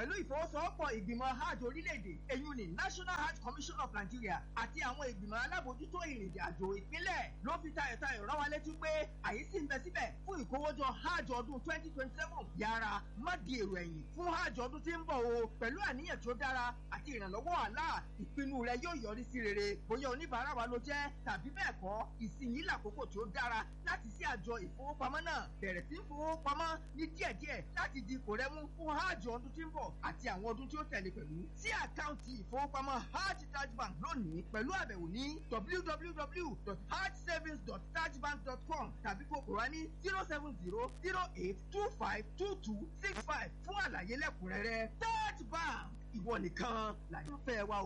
Pẹ̀lú ìfọwọ́sowọ́pọ̀ ìgbìmọ̀ hajj orílẹ̀-èdè, èyí ni National Hajj Commission of Nigeria, àti àwọn ìgbìmọ̀ alábòójútó ìrìn àjò ìpínlẹ̀ ló fi tayọ̀tayọ̀ rán wa létí pé àyè sì ń bẹ síbẹ̀ fún ìkówójọ hajj ọdún 2027. Yára má di èrò ẹ̀yìn fún hajj ọdún tí ń bọ̀ o. Pẹ̀lú àníyàn tó dára àti ìrànlọ́wọ́ Allah, ìpinnu rẹ yóò yọrí sí rere. Bóyá oníbàárà wa ló jẹ́ tàbí bẹ́ẹ̀ kọ́, ìsinyìí làkókò tó dára láti sí àjọ ìfowópamọ́ náà, bẹ̀rẹ̀ sí í fowópamọ́ ní díẹ̀díẹ̀ láti di ipò rẹ mú fún hajj ọdún tí ń bọ̀ àti àwọn ọdún tí ó tẹ̀lé pẹ̀lú. Sí àkáǹtì ìfowópamọ́ Hajj Taj Bank lónìí pẹ̀lú àbẹ̀wò ní www.hajjsavings.tajbank.com tàbí kó kóra ní 07008252265 fún àlàyé lẹ́kùnrẹ́rẹ́. Taj Bank, ìwọ nìkan làyànfẹ́ wa o.